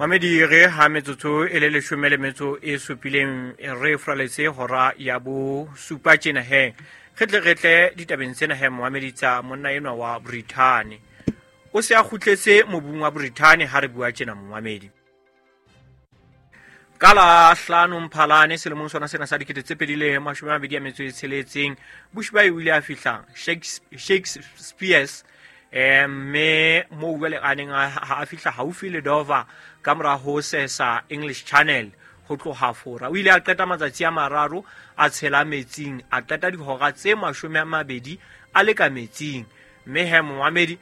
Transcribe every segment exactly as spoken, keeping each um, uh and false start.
Mamedi re ha metsotso e le leshome le metso e supileng re fraletse hora ya bo supa tjena he. Re tle re tle ditabeng tsena he momamedi tsa monna enwa wa Brithani. O se a kgutletse mobung wa Brithani ha re bua tjena momamedi. Ka la hlano Mphalane selemong sona sena sa dikete tse pedi le mashome a mabedi a metso e tsheletseng, Bushbuy o ile a fihla Shakespeare's eh mme moo jwale a neng a fihla haufi le Dover ka mora ho sesa English Channel ho tloha Fora. O ile a qeta matsatsi a mararo a tshela metsing, a qeta dihora tse mashome a mabedi a le ka metsing. Mme he momamedi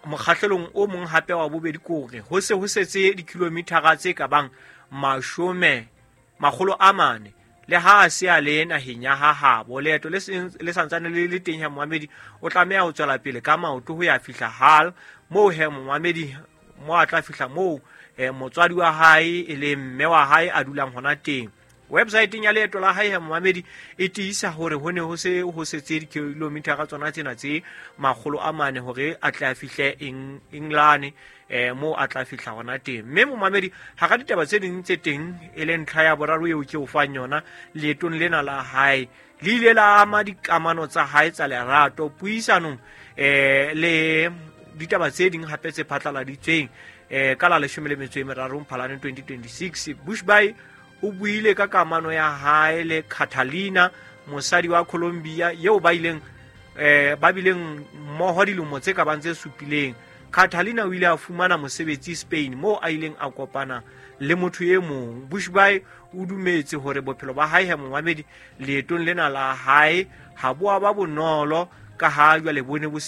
mokgahlelong o mong hape wa bobedi kore ho se ho setse dikilomithara tse ka bang mashome makgolo a mane le ha a se a le naheng ya ha habo. Leeto le le santsane le le teng he momamedi, o tlameha ho tswela pele ka maoto ho ya fihla Hull moo he momamedi mo a tla fihla moo eh, motswadi wa hae e le mme wa hae a dulang hona teng. Websiteng ya leeto la hae he momamedi e tiisa hore ho ne ho se ho setse dikilomithara tsona tsena tse makgolo a mane hore a tle a fihle England eh mo a tla fihla hona teng. Mme momamedi hara ditaba tse ding tse teng e le ntlha ya boraro eo ke o fang yona leetong lena la hae le ile la ama dikamano tsa hae tsa lerato puisanong eh le ditaba tse ding hape tse phatlaladitsweng eh ka la leshome le metso e meraro Mphalane twenty twenty-six. Bushbuy o buile ka kamano ya hae le Catalina, mosadi wa Colombia eo ba ileng eh ba bileng mmoho dilemo tse ka bang tse supileng. Catalina o ile a fumana mosebetsi Spain moo a ileng a kopana le motho e mong. Bushbuy o dumetse hore bophelo ba hae he momamedi leetong lena la hae ha bo a ba bonolo ka ha jwale bone bo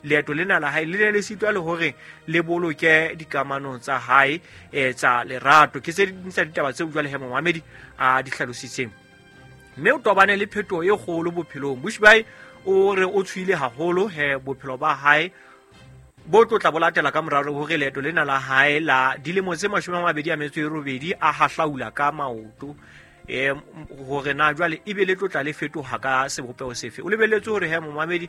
leeto lena la hae le ne le sitwa le hore le boloke dikamano tsa hae eh tsa lerato. Ke tse ding tsa ditaba tseo jwale he momamedi a di hlalositseng. Mme o tobane le phetoho e kgolo bophelong. Bushbuy o re o tshwile haholo he bophelo ba hae bo tlotla bo latela ka moraro hore leeto lena la hae la dilemo tse mashome a mabedi a metso e robedi a hahlaula ka maoto eh hore na jwale ebe le tlotla le fetoha ka sebopeho sefe. O lebelletse hore he momamedi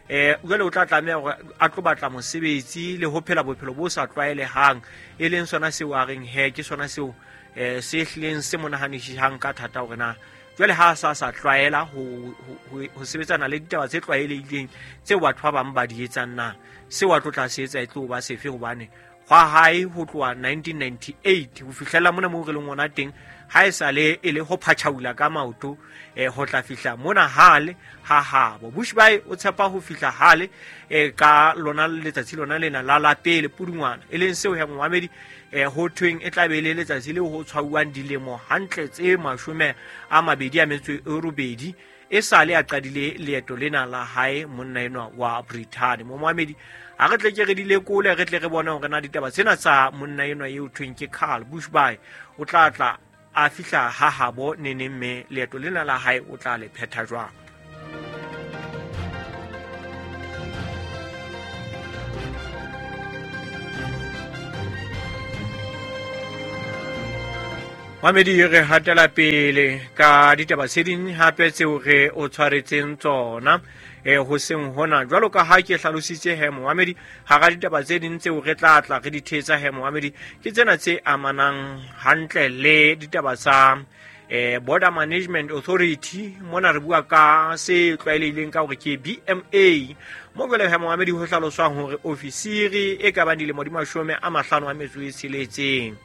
eh jwale o tla tlameha hore a tlo batla mosebetsi le ho phela bophelo bo sa tlwaelehang, e leng sona seo a reng he ke sona seo eh se hlileng se mo nahanisisang ka thata hore na jwale ha sa sa tlwaela ho ho sebetsana le ditaba tse tlwaelehileng tseo batho ba bang ba di etsang, na seo a tlo tla se etsa e tlo ba sefe. Hobane hwa hae ho tloha nineteen ninety-eight ho fihlela mona moo re leng hona teng ha e sale e le ho phatjhaula ka maoto eh ho tla fihla mona hale ha habo. Bushbuy o tshepa ho fihla hale eh ka lona letsatsi lona lena la la pele Pudungwana, e leng seo he momamedi eh ho thweng e tla be le letsatsi leo ho tshwauwang dilemo hantle tse mashome a mabedi a metso e robedi e sale a qadile leeto lena la hae monna enwa wa Brithani. Momamedi a re tle ke re di lekole, re tle re bone hore na ditaba tsena tsa monna enwa eo thweng ke Carl Bushbuy o tla tla a fihla ha habo neneng, mme leeto lena la hae o tla le phetha jwang. Mamedi re hatela pele ka ditaba tse ding hape tseo re o tshwaretseng tsona eh ho seng hona jwalo ka ha ke hlalositse he momamedi hara ditaba tse ding tseo re tla tla re di thetsa he momamedi ke tsena tse amanang hantle le ditaba tsa eh Border Management Authority. Mona re bua ka se tlwaelehileng ka hore ke B M A mo jwale he momamedi ho hlaloswang hore ofisiri e ka bang dilemo di mashome a mahlano a metso e tsheletseng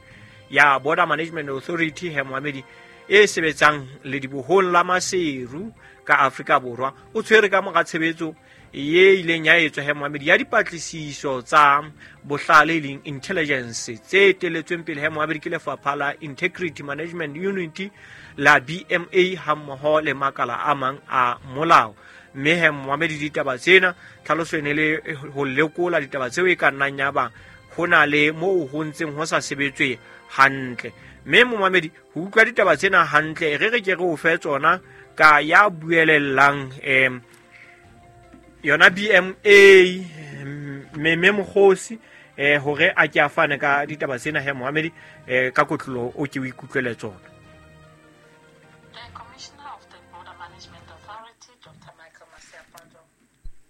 ya Border Management Authority he momamedi e sebetsang le dibohong la Maseru ka Afrika Borwa o tshwere ka mora tshebetso ye ileng ya etswa he momamedi ya dipatlisiso tsa bohlale leng intelligence tse teletsweng pele he momamedi ke lefapha la Integrity Management Unit la B M A hammoho le makala a mang a molao. Mme he momamedi ditaba tsena tlhaloso e ne le ho lekola ditaba tseo e ka nnang ya ba ho na le moo ho ntseng ho sa sebetswe hantle. Mme momamedi ho utlwa ditaba tsena hantle re re ke re o fe tsona ka ya buelellang em yona B M A Meme Mokgosi eh hore a ke a fane ka ditaba tsena he momamedi eh ka kotlolo o ke o ikutlwele tsona. The Commissioner of the Border Management Authority, Doctor Michael Masiapato,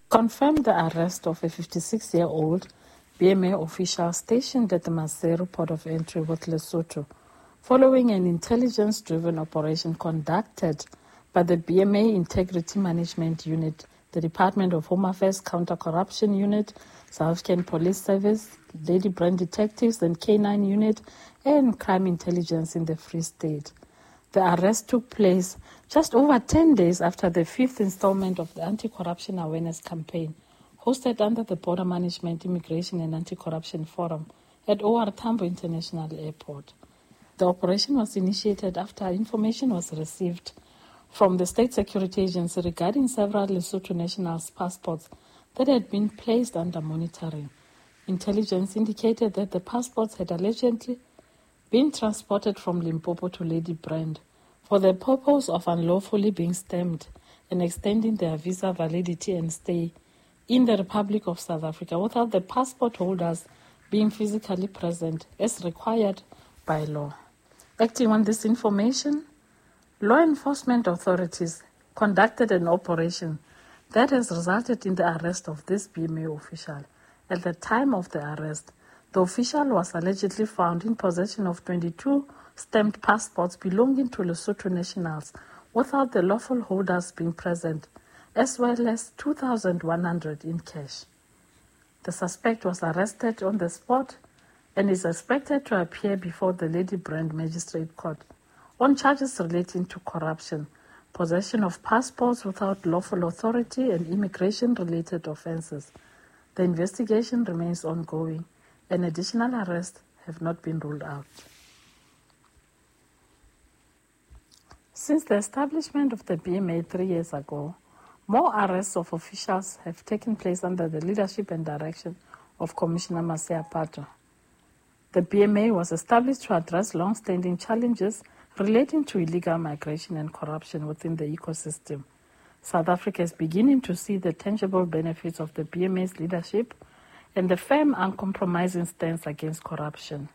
confirmed the arrest of a fifty-six-year-old B M A official stationed at the Maseru port of entry with Lesotho, following an intelligence-driven operation conducted by the B M A Integrity Management Unit, the Department of Home Affairs Counter-Corruption Unit, South African Police Service, Ladybrand Detectives and K nine Unit, and Crime Intelligence in the Free State. The arrest took place just over ten days after the fifth installment of the Anti-Corruption Awareness Campaign, hosted under the Border Management, Immigration and Anti-Corruption Forum at O R. Tambo International Airport. The operation was initiated after information was received from the State Security Agency regarding several Lesotho nationals' passports that had been placed under monitoring. Intelligence indicated that the passports had allegedly been transported from Limpopo to Ladybrand for the purpose of unlawfully being stamped and extending their visa validity and stay in the Republic of South Africa without the passport holders being physically present as required by law. Acting on this information, law enforcement authorities conducted an operation that has resulted in the arrest of this B M A official. At the time of the arrest, the official was allegedly found in possession of twenty-two stamped passports belonging to Lesotho nationals without the lawful holders being present, as well as two thousand one hundred in cash. The suspect was arrested on the spot and is expected to appear before the Ladybrand Magistrate Court on charges relating to corruption, possession of passports without lawful authority, and immigration-related offenses. The investigation remains ongoing, and additional arrests have not been ruled out. Since the establishment of the B M A three years ago, more arrests of officials have taken place under the leadership and direction of Commissioner Masiapato. The B M A was established to address long-standing challenges relating to illegal migration and corruption within the ecosystem. South Africa is beginning to see the tangible benefits of the B M A's leadership and the firm, uncompromising stance against corruption.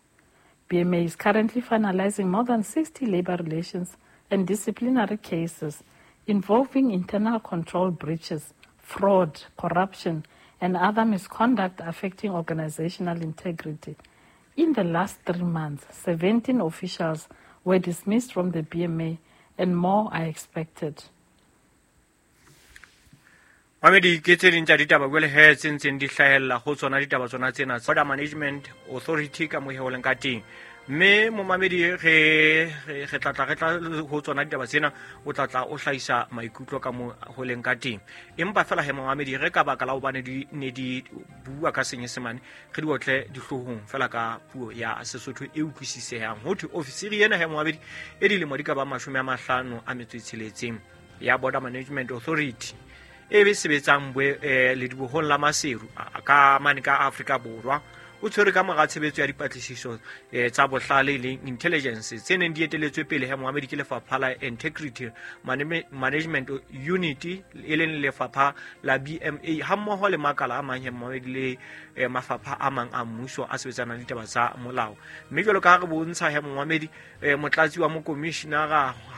B M A is currently finalizing more than sixty labor relations and disciplinary cases involving internal control breaches, fraud, corruption, and other misconduct affecting organizational integrity. In the last three months, seventeen officials were dismissed from the B M A and more are expected. Mamedi, ke tse ding tsa ditaba jwale he tse ntseng di hlahella ho tsona ditaba tsona tsena tsa Border Management Authority ka mo leng ka teng. Mme momamedi, re re re tla tla re tla ho tsona ditaba tsena, o tla tla o hlahisa maikutlo ka mo ho leng ka teng. Empa fela he momamedi, re ka baka la hobane di ne di bua ka Senyesemane, re di otle dihloohong fela ka puo ya Sesotho e utlwisisehang. Ho thwe ofisiri ena he momamedi e dilemo di ka ba mashome a mahlano a metso e tsheletseng ya Border Management Authority e be sebetsang boe eh, ledibohong la Maseru a- ka mane ka Afrika Borwa, o tshwere ka mora tshebetso ya dipatlisiso eh, tsa bohlale e leng intelligence tse neng di eteletswe pele he moamedi ke lefapha la Integrity Maname- Management Unit, e leng lefapha la B M A, hammoho le makala a mang he moamedi le eh, mafapha a mang a mmuso a sebetsanang le ditaba tsa molao. Mme jwalo ka ha re bontsha he moamedi, eh, motlatsi wa mokomishinara